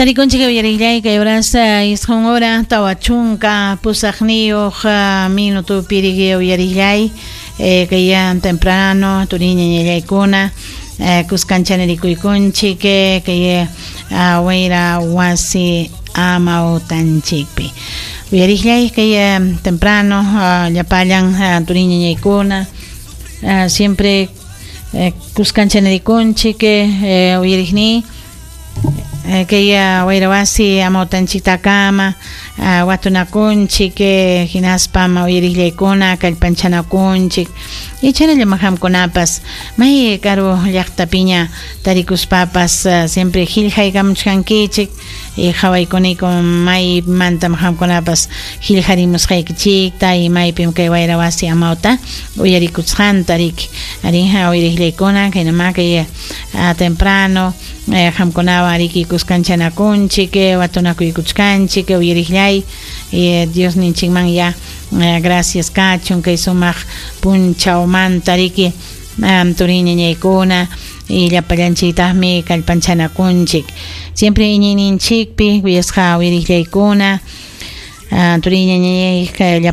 Tarikunchik uyarillay kay horasta 9 hora 48 minutopi riki uyarillay, kay temprano turiñañallaykuna kuskanchanerikuykunchik kay wayra wasi amawtanchikpi. Uyarillay kay temprano llapallan turiñañaykuna siempre kuskanchaneriykunchik uyariqniy kay wayra wasi amawtanchiktakama watunakunchik, hinaspam uyariqllaykuna kallpanchanakunchik y chaynallam qamkunapas may karu llaqtapiña tarikuspapas siempre qillqaykamuchkankichik y qawaykuniku maymantam qamkunapas qillqarimusqaykichikta y maypim kay wayra wasi amawta uyarikusqanta riki. Arinja uyariqllaykuna kaynama kay temprano qamkunawan riki kuskanchanakunchik, watunakuykuchkanchik uyariqllay. Dios ninchikman ya gracias kachun kay sumaq punchawmanta riki, turiñañaykuna, y llapallanchiktaqmi kallpanchanakunchik siempre iñiyninchikpi, kuyasqa uyariqllaykuna, turiñañay.